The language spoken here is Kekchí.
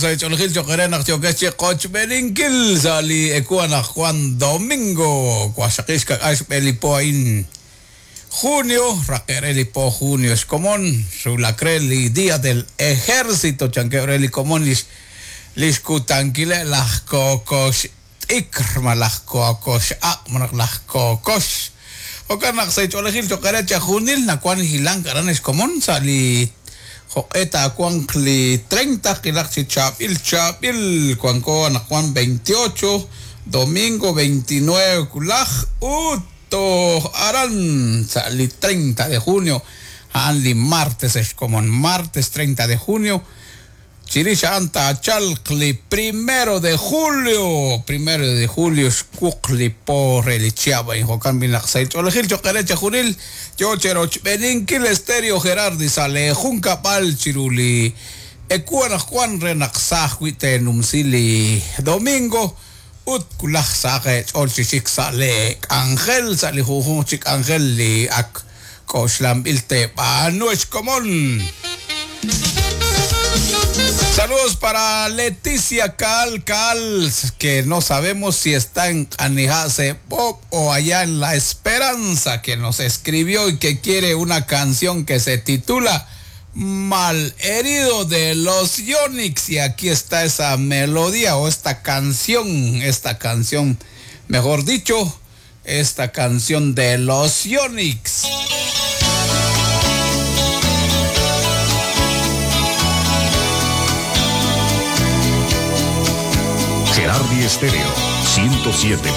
Sa' ch'oolejil cho'q eere naq yookex chi qochb'eeninkil sa' li ewu anaqwan domingo waqxaqib' xka'k'aal xb'e li po a'in junio, raqe' re li po junio xkomon, xwulak re li Día del Ejército chankeb' re li komon lix li xkutankileb' laj kookox t'ikr malaj kookox aq' malaj laj kookox. Jo'kan naq sa' ch'oolejil cho'q eere chejunil nawank hilank aran xkomon sa' li joq'e taawanq li 30 qilaq chi chaab'il chaab'il wanko anaqwan 28 domingo 29 wulaj ut toj aran sa' li 30 de junio a'an li martes xkomon martes 30 de junio chirix a'an taachalq li primero de julio primero de julio xwuq li po re li chihab' a'in jo'kan b'i naq sa' ch'oolejil cho'q eere chejunil yo cherochb'eeninkil Estéreo Gerardi sa' lee junkab'al chiru li ewu anaqwan re naq sa ajwi' teenumsi li domingo ut wulaj sahaq eech'ool chi xik sa' lee k'anjel sa' li junjunq chi k'anjel li ak k'oxlanb'il teeb'aanu xkomon. Saludos para Leticia Cal Cal, que no sabemos si está en Q'anijase Pop o allá en La Esperanza, que nos escribió y que quiere una canción que se titula Mal herido de los Yonix. Y aquí está esa melodía o esta canción, mejor dicho, esta canción de los Yonix. Gerardi Estéreo 107.